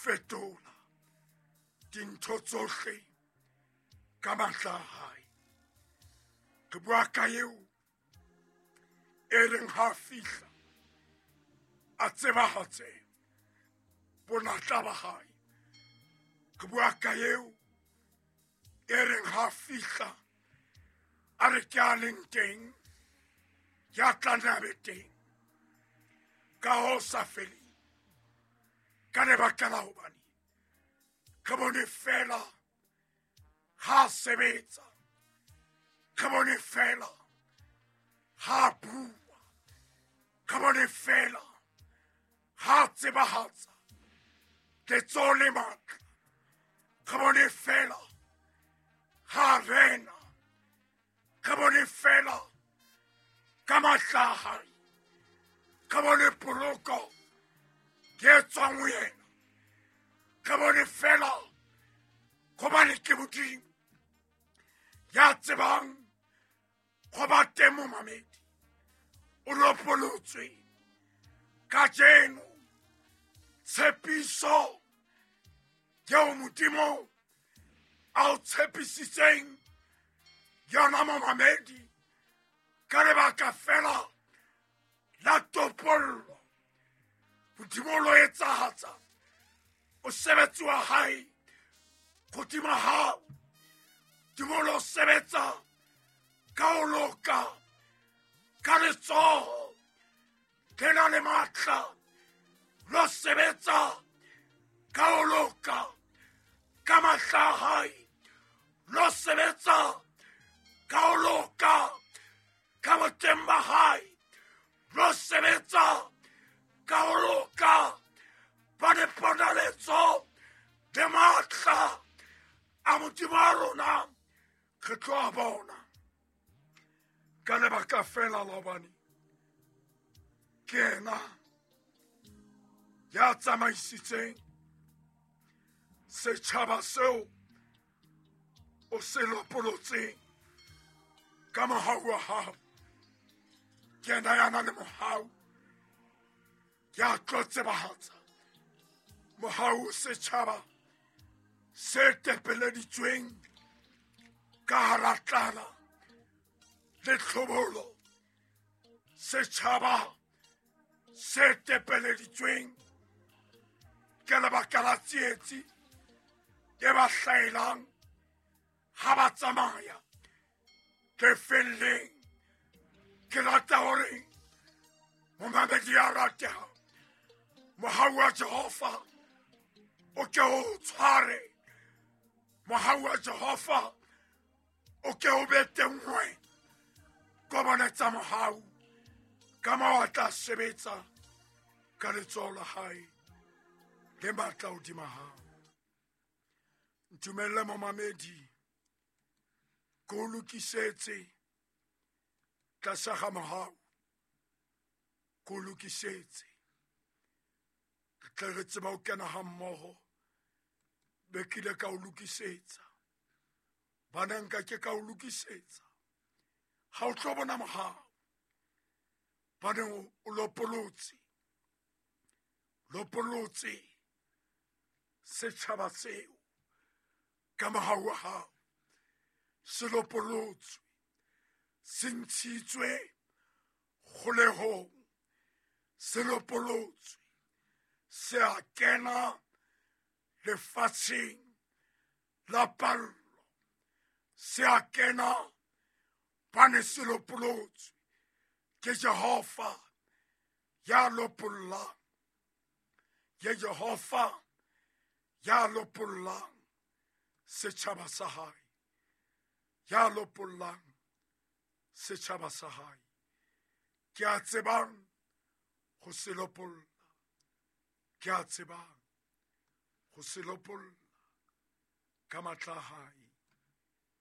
Fetola dintho tsohle ka matla a hae. Re bua ka eo e reng ha fihla a tsebahatse bonatla ba hae. Re bua ka eo e reng ha fihla a re ke a leng teng, ya tla nna be teng ka ho sa feleng, ka lebaka la hobane re bone fela ha sebetsa, re bone fela ha bua, re bone fela ha tsebahatsa letsoho le matla, re bone fela ha rena, re bone fela ka matla a hae, re bone poloko ke tswang ho yena, re bone fela gobane ke Modimo ya tsebang go ba teng. Momamedi, o lopolotswe kajeno. Tshepiso eo Modimo a o tshepisitseng yona, momamedi, ka lebaka fela la topollo, Modimo o lo etsahatsa mosebetsi wa hae godimo hao. Modimo o lo sebetsa ka ho loka ka letsoho le na le matla, lo sebetsa ka ho loka ka matla a hae, lo sebetsa ka ho loka ka boteng ba hae, lo sebetsa ka ho loka ba diponaletso le matla a Modimo wa rona re tlo a bona, ka lebaka fela la hobane ke yena ya tsamaisitseng setjhaba seo o se lopolotseng ka mohau wa hao. Ke yena ya na le mohau, ya tlo tsebahatsa mohau setjhaba se tepeleditsweng ka hara tlala le tlhobolo, setjhaba se tepeleditsweng ke lebaka la tsietsi e ba hlaelang ha ba tsamaya lefelleng. Ke rata hore momamedi ya rateha, mohau wa Jehova o ke o tshware, mohau wa Jehova o ke o be teng wena. Kobonetsa mohau ka moo a tla sebetsa ka letsoho la hae le matla hodima hao. Ntumelle, momamedi, ke o lokisetse tlasa ga mohau, ke o lokisetse re tle re tseba ho kena ga mmoho. Be kile ka o lokisetsa bana, nka ke ka o lokisetsa ga o tlo bona mohau, bane o lopolotse, lopolotse setjhaba seo ka mohau wa hao. Se lopolotswe, se ntshitswe kgolehong, se lopolotswe, se a kena lefatsheng la pallo, se a kena bane se lopolotswe ke Jehova ya lopollang, ke Jehova ya lopollang setjhaba sa hae, ya lopollang setjhaba sa hae, ke a tsebang go se lopolla, ke a tsebang go se lopolla ka matla a hae.